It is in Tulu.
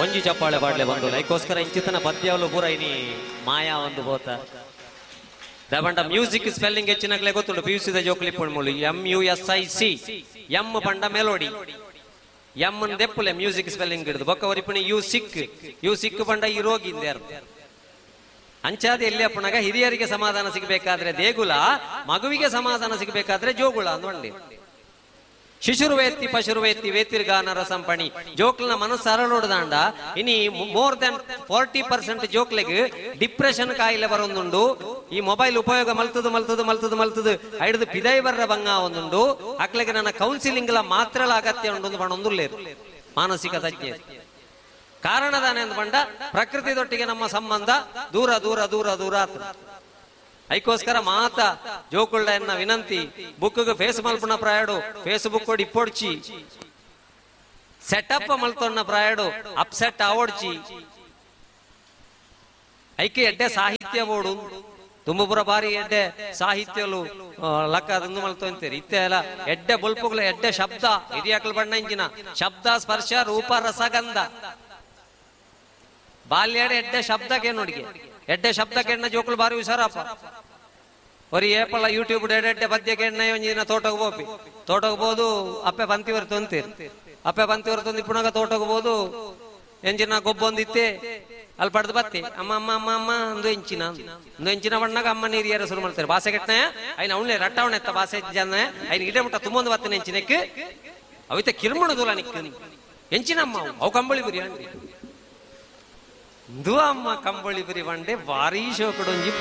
ಒಂಜಿ ಚಪ್ಪಾಳೆ ಪಾಡ್ಲೆ ಬಂದು ಐಕೋಸ್ಕರ ಇಂಚಿತನ ಪದ್ಯವಲು ಪೂರ ಇನಿ ಮಾಯಾ ಒಂದು ಬೋತ ದಬಂಡ ಮ್ಯೂಸಿಕ್ ಸ್ಪೆಲ್ಲಿಂಗ್ ಹೆಚ್ಚಿನಕ್ಲೆ ಗೊತ್ತುಂಡು. ಪಿ ಯು ಸಿದ ಜೋಕ್ಲಿ ಪುಣ್ಮುಲು M U S I C M ಪಂಡ ಮೆಲೋಡಿ, ಎಂ ದೆಪ್ಪುಲೆ ಮ್ಯೂಸಿಕ್ ಸ್ಪೆಲ್ಲಿಂಗ್ ಹಿಡಿದು ಬೊಕ್ಕ ಒರಿಪುಣಿ you sick, you ಸಿಕ್ ಪಂಡ ಈ ರೋಗಿ ಅರ್ಥ. ಅಂಚಾದ ಎಲ್ಲಿ ಅಪ್ಪಣಗ ಹಿರಿಯರಿಗೆ ಸಮಾಧಾನ ಸಿಗಬೇಕಾದ್ರೆ ದೇಗುಲ, ಮಗುವಿಗೆ ಸಮಾಧಾನ ಸಿಗಬೇಕಾದ್ರೆ ಜೋಗುಳ ಅಂದ್ಕೊಂಡಿ. ಶಿಶುರ್ವೇತ್ತಿ ಪಶುರ್ವೇತ್ತಿ ವೇತಿರ್ಗಾನ ರಸಂಪಣಿ ಜೋಕ್ಲನ ಮನಸ್ಸು ಅರಳೋಡ್ದಾಂಡ ಇನಿ ಮೋರ್ ದೆನ್ 40% ಜೋಕ್ಲೆಗ್ ಡಿಪ್ರೆಷನ್ ಕಾಯಿಲೆ ಬರೊಂದುಂಡು. ಈ ಮೊಬೈಲ್ ಉಪಯೋಗ ಮಲ್ತದು ಮಲ್ತದು ಮಲ್ತದು ಮಲ್ತದು ಐಡ್ದು ಪಿದೈ ಬರ್ರ ಬಂಗ ಒಂದುಂಡು. ಅಕ್ಲೆಗೆ ನನ್ನ ಕೌನ್ಸಿಲಿಂಗ್ ಲ ಮಾತ್ರಲ ಅಗತ್ಯ ಉಂಡು ಪಣೊಂದುಲ್ಲೇರು ಮಾನಸಿಕ ತಜ್ಞ. ಕಾರಣದಾನೆ ಅಂದ್ ಪಂಡ ಪ್ರಕೃತಿದೊಟ್ಟಿಗೆ ನಮ್ಮ ಸಂಬಂಧ ದೂರ ದೂರ ದೂರ ದೂರ ಆತು. ಐಕೋಸ್ಕರ ಮಾತ ಜೋಕುಳ್ಳ ಎನ್ನ ವಿನಂತಿ, ಬುಕ್ಗೆ ಫೇಸ್ ಮಲ್ಪುನ ಪ್ರಾಯಡು ಫೇಸ್ಬುಕ್ ಇಪ್ಪೊಡ್ಚಿ, ಸೆಟಪ್ ಮಲ್ತೊನ್ನ ಪ್ರಾಯಡು ಅಪ್ಸೆಟ್ ಆವೊಡ್ಚಿ. ಐಕೆ ಎಡ್ಡೆ ಸಾಹಿತ್ಯ ಬೋಡು ತುಂಬುಪುರ ಬಾರಿ ಎಡ್ಡೆ ಸಾಹಿತ್ಯಲು ಲಕ್ಕ ಅದೊಂದು ಮಲ್ತೊಂತೀರಿ. ಇತ್ತೆ ಅಲ್ಲ ಎಡ್ಡೆ ಬೊಲ್ಪುಗಳ ಎಡ್ಡೆ ಶಬ್ದ ಹಿರಿಯಾಕಲ್ ಬಣ್ಣ ಇಂಜಿನ ಶಬ್ದ ಸ್ಪರ್ಶ ರೂಪ ರಸಗಂಧ. ಬಾಲ್ಯಡ ಎಡ್ಡೆ ಶಬ್ದಕ್ಕೆ ನೋಡಿಗೆ ಎಡ್ಡೆ ಶಬ್ದಕ್ಕೆ ಎಣ್ಣ ಜೋಕುಲು ಬಾರಿ ಹುಷಾರಪ್ಪ. ಒರಿ ಏಪಲ್ಲ ಯೂಟ್ಯೂಬ್ ಎಡ್ಡೆ ಪದ್ಯಕ್ಕೆ ಎಣ್ಣ ಒಂಜಿನ ತೋಟಕ್ಕೆ ಹೋಪಿ, ತೋಟಕ್ಕೆ ಬೋದು ಅಪ್ಪೆ ಬಂತಿವರು ತೊಂತೀರಿ, ಅಪ್ಪೆ ಬಂತಿವರು ತೊಂದು ಪುನಗ ತೋಟಕ್ಕೆ ಬೋದು ಎಂಜಿನ ಗೊಬ್ಬೊಂದಿತ್ತೆ ಅಲ್ಲಿ ಪಡೆದು ಬತ್ತಿ ಅಮ್ಮ ಅಮ್ಮ ಅಮ್ಮ ಅಮ್ಮ ಅಂದು ಎಂಚಿನ ಅಂದು ಎಂಚಿನ ಬಣ್ಣಾಗ ಅಮ್ಮ ನೀರು ಏರ ಶುರು ಮಾಡ್ತಾರೆ. ಬಾಸೆ ಕೆಟ್ಟನೆ ಐನ ಅವನೇ ರಟ್ಟವಣೆ ಎತ್ತ ಬಾಸೆ ಜನ ಐನ ಗಿಡ ಮುಟ್ಟ ತುಂಬೊಂದು ಬತ್ತನೆ ಎಂಚಿನಕ್ಕೆ ಅವಿತ ಕಿರ್ಮಣ ದೂಲ ನಿಕ್ಕ ಎಂಚಿನಮ್ಮ ಅವು ಕಂಬಳಿ ಬುರಿ ಅಂದ್ರಿ. ಇಂದು ಅಮ್ಮ ಕಂಬಳಿ ಬುರಿ ಬಂಡೆ ಭಾರೀ ಶೋಕಡೊಂಜಿ